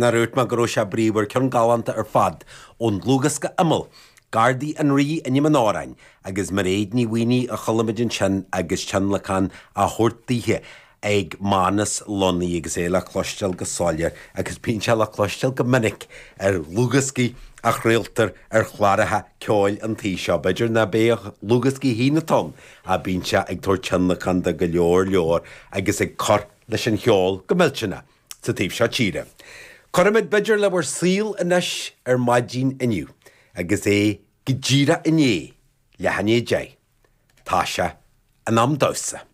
Nár dhúirt mé go raibh sé bríomhar, ceann galánta ar fad ón dlúthdhiosca Imeall, Gardaí an Rí ainm an amhráin, agus Mairéad Ní Mhaonaigh a chuala muid ansin agus tionlacan á thabhairt daoithe ag Manus Lunny agus é le cloisteáil go soiléir agus bíonn sé le cloisteáil go minic ar dhlúthdhioscaí a chraoltar ar chláracha ceoil an tí seo. B'fhéidir ná b'é a dhlúthdhioscaí féin atá ann ach bíonn sé ag tabhairt tionlacan do go leor leor agus ag cur leis an cheol go millteanach. sa taobh seo tíre. Cuirfimid b'fhéidir le bhur saol anois ar maidin inniu agus é go díreach i ndiaidh leath i ndiaidh 10. Tá sé in am damhsa.